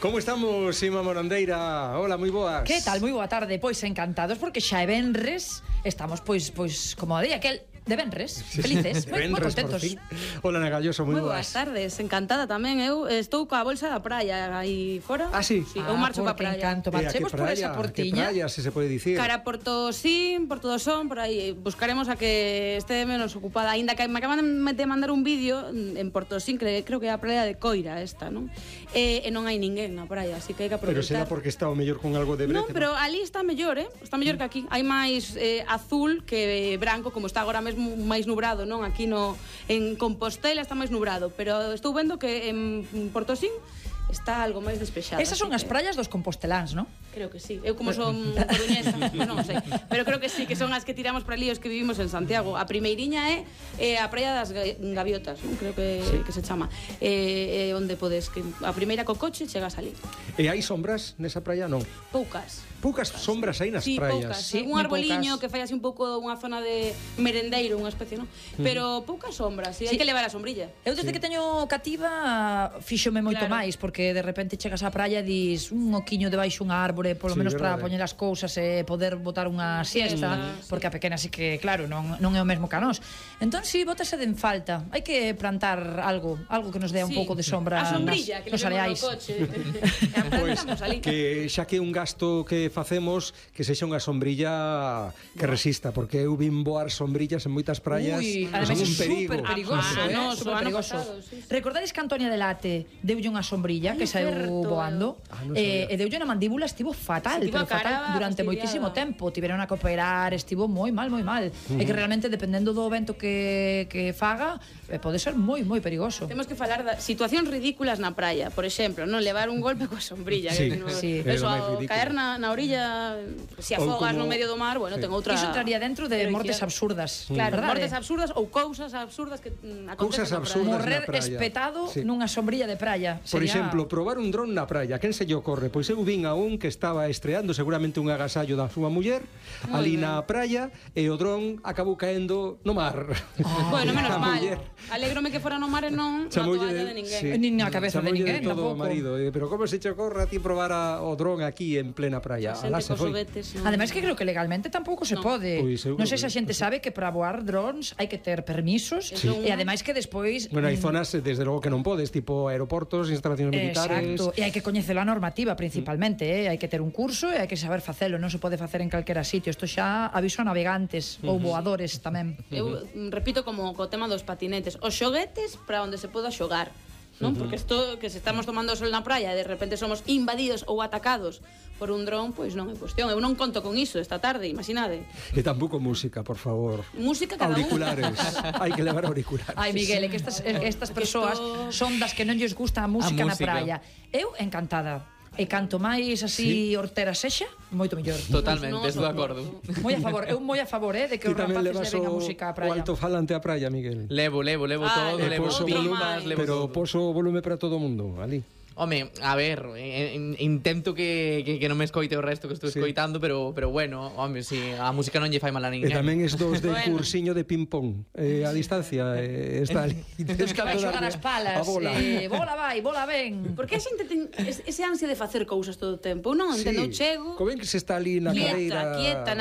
Como estamos, Ima Morandeira? Hola, moi boas. Que tal? Moi boa tarde. Pois encantados porque xa é venres. Estamos pois como día aquel de venres, felices, moi contentos. Hola, Nagalloso, moi boas tardes, encantada tamén. Eu estou coa bolsa da praia aí fora. Ah, sí? Sí, eu marcho pa praia. Encanto. Marchemos por esa portiña. Que praia, se pode dicir? Cara Portosín, Porto do Son, por aí. Buscaremos a que este menos ocupada. Ainda que me acaban de mandar un vídeo en Portosín, creo que é a praia de Coira esta, non? E non hai ninguén na praia, así que hai que aproveitar. Pero será porque está o mellor con algo de brete? Non, pero ali está mellor, Está mellor que aquí. Hai máis azul que branco, como está agora mesmo máis nubrado, non? Aquí en Compostela está máis nubrado, pero estou vendo que en Portosín está algo máis despexado. Esas son as praias dos composteláns, non? Creo que sí. Eu como son coruñesa, non sei, pero creo que sí, que son as que tiramos para ali os que vivimos en Santiago. A primeiriña é a praia das Gaviotas, non? Creo que se chama. Onde podes que a primeira co coche chegas ali. E hai sombras nesa praia, non? Poucas sombras aí nas praias. Sí, un arboliño que fai así un pouco unha zona de merendeiro, unha especie, non? Pero poucas sombras, hai que levar a sombrilla. Eu desde que teño cativa fíxome moito máis, porque de repente chegas á praia e dis un oquiño debaixo unha árbore, polo menos para poñer as cousas e poder botar unha siesta, porque a pequena sí que, claro, non é o mesmo que a nós. Entón, si, bótase de en falta. Hai que plantar algo que nos dea un pouco de sombra nos areais. Pois, que xa que un gasto que facemos, que sexa unha sombrilla que resista, porque eu vin voar sombrillas en moitas praias. Ademais é super perigoso. Recordades que Antonia Delate deulle unha sombrilla que saíu voando e deulle na mandíbula, estivo fatal, pero fatal durante moitísimo tempo. Tiveron a que operar, estivo moi mal. É que realmente dependendo do vento que faga, pode ser moi perigoso. Temos que falar de situacións ridículas na praia, por exemplo, non levar un golpe coa sombrilla, eso, caer na orilla, se afogas no medio do mar, bueno, ten outra. Iso entraría dentro de mortes absurdas. Claro, mortes absurdas ou cousas absurdas que acontecen na praia. Morrer espetado nunha sombrilla de praia. Por exemplo, probar un dron na praia, quen se lle ocorre? Pois eu vin a un que estaba estreando seguramente un agasallo da súa muller ali na praia e o dron acabou caendo no mar. Bueno, menos mal. Alégrome que fora no mar e non na toalla de ninguén. Nin na cabeza de ninguén tampouco. Pero como se che ocorre a ti probar o dron aquí en plena praia? Ademais que creo que legalmente tampouco se pode. Non sei se a xente sabe que para voar drones hai que ter permisos e ademais que despois... Bueno, hai zonas desde logo que non podes, tipo aeroportos, instalacións militares... Exacto, e hai que coñecer a normativa principalmente, hai que ter un curso e hai que saber facelo, non se pode facer en calquera sitio. Isto xa aviso a navegantes ou voadores tamén. Eu repito como co tema dos patinetes, os xoguetes para onde se poda xogar, non? Porque isto que se estamos tomando o sol na praia e de repente somos invadidos ou atacados por un dron, pois non é cuestión. Eu non conto con iso esta tarde, imaginade. E tampouco música, por favor. Música cada auriculares. Hai que levar auriculares. Ai, Miguel, é que estas persoas son das que non lles gusta a música na praia. Eu encantada. E canto máis así hortera sexa, moito mellor. Totalmente, estou de acordo. Moi a favor, eu moi a favor de que os rapaces leven a música á praia. O alto-falante á praia, Miguel. Levo todo, levo pilas, levo pero poso o volume para todo o mundo, ali. Home, a ver, intento que non me escoite o resto que estou escoitando, pero bueno, home, si a música non lle fai mal a ninguén. E tamén estos de cursiño de ping-pong a distancia, está ali. Dos que vai xogar as palas, bola vai, bola ven. Porque a xente ten ese ansia de facer cousas todo o tempo, non? Entendo, chego... Co ben que se está ali na cadeira... Quieta,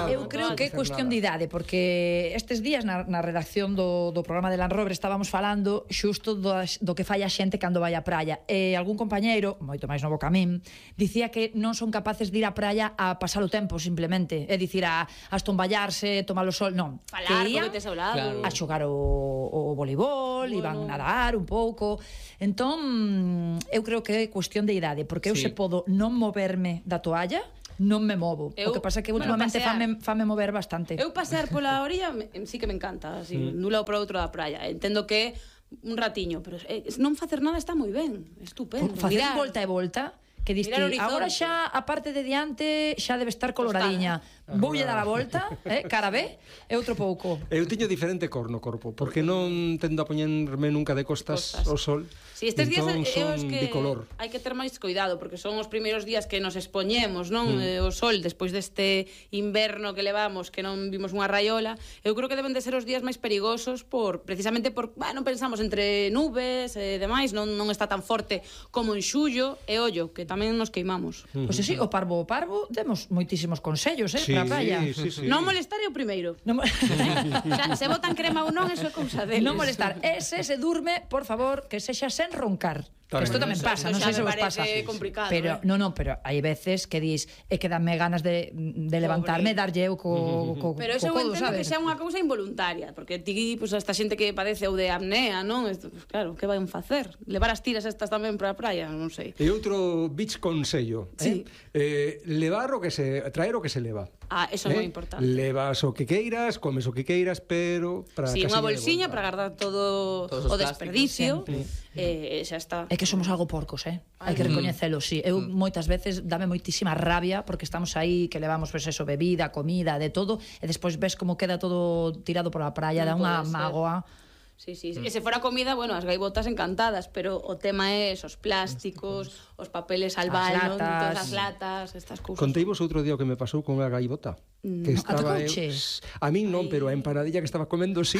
eu creo que é cuestión de idade, porque estes días na redacción do programa de Land Rover estábamos falando xusto do que fai a xente cando vai á praia. E algún compañeiro, moito máis novo que a min, dicía que non son capaces de ir á praia a pasar o tempo simplemente, é dicir, a estomballarse, tomar o sol, non. Falar, porque tes ao lado. A xogar o voleibol, iban nadar un pouco. Entón, eu creo que é cuestión de idade, porque eu se podo non moverme da toalla, non me movo. O que pasa é que últimamente fame mover bastante. Eu pasear pola orilla sí que me encanta, así, dun lado para outro da praia. Entendo que un ratiño, pero non facer nada está moi ben, estupendo. Facer volta e volta, que diste, Mirar o horizonte. agora xa a parte de diante xa debe estar coloradiña. Voulle dar a volta, cara B, e outro pouco. Eu tiño diferente cor no corpo, porque non tendo a poñerme nunca de costas ao sol. Si estes días entón é son que bicolor. hai que ter máis cuidado, porque son os primeiros días que nos expoñemos, non? O sol, despois deste inverno que levamos, que non vimos unha raiola. Eu creo que deben de ser os días máis perigosos precisamente por, non pensamos entre nubes e demais, non está tan forte como en xullo, e ollo, que tamén nos queimamos. Pois sí, o parvo demos moitísimos consellos, para a praia. Sí. Non molestar é o primeiro. Non, O sea, se botan crema ou non, eso é cousa deles. non molestar. Se durme, por favor, que sexa sen roncar. Tamén. Isto tamén pasa, non sei se vos pasa. Complicado, Pero pero hai veces que dis que danme ganas de levantarme e darlle eu co Pero eso eu codo, entendo sabes? que sea unha cousa involuntaria, porque ti, pues, esta xente que padece ou de apnea, non? Pues, claro, que vai facer? Levar as tiras estas tamén para a praia, non sei. E outro beach consello, Sí. traer o que se leva. Eso é moi importante. Levas o que queiras, comes o que queiras, pero para Sí, unha casiña de bolsiña volta. para guardar todo Todos os o desperdicio, plásticos, xa está. É que somos algo porcos, hai que recoñecelo, sí. Eu moitas veces dame moitísima rabia porque estamos aí que levamos pues eso, bebida, comida, de todo, e despois ves como queda todo tirado por a praia, dá Non unha pode ser. mágoa. Sí. E se fora comida, bueno, as gaivotas encantadas, pero o tema é os plásticos, os papeles al balón, latas. todas as latas, estas cousas. Conteivos outro día o que me pasou con a gaivota. Que estaba atacouche? a min non, pero a empanadilla que estaba comendo sí.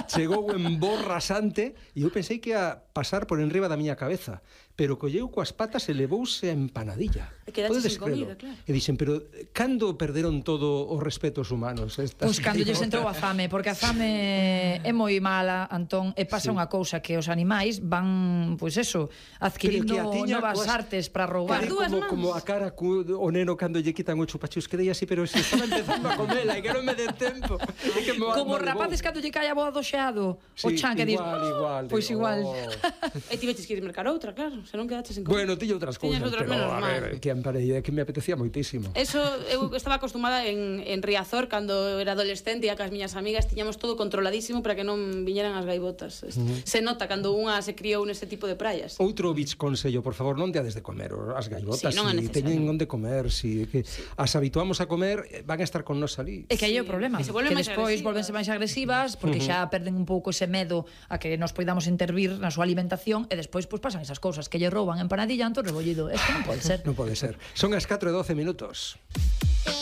Chegou en bo rasante e eu pensei que ia pasar por enriba da miña cabeza, pero colleu coas patas e levouse a empanadilla. E quedaches Podedes sen comida, crelo? claro. E dixen, pero cando perderon todo os respetos humanos estas Pois cando lles gaivotas? entrou a fame, porque a fame é moi mala, Antón, e pasa unha cousa que os animais van, pois eso, adquirindo Pero que a tiña novas coas- artes para roubar. As dúas mans. como a cara o neno cando lle quitan o chupachus, quedei así, pero se estaba empezando a comela e que non me den tempo. É que Como os rapaces cando lle cae a boa do xeado, o chan que dis, igual. pois igual. E tiveches que ir mercar outra, claro, se non quedaches sen comida. Bueno, tiño outras cousas, Tiñas outras, pero menos a mal. ver, que empanadilla que me apetecía moitísimo. Eso, eu estaba acostumada en Riazor cando era adolescente e cas miñas amigas tiñamos todo controladísimo para que non viñeran as gaivotas. Se nota cando unha se criou neste tipo de praias. Outro beach consello, por favor, non teades de comer as gaivotas, Sí, non é si necesario. teñen onde comer, si que as habituamos a comer, van a estar con nos ali. É que aí é o problema, E se volven que máis despois agresivas. volvense máis agresivas porque xa perden un pouco ese medo a que nos poidamos intervir na súa alimentación e despois pois pasan esas cousas que lle rouban empanadilla, entón rebollido. Isto non pode ser. Non pode ser. Son as 4:12 minutos.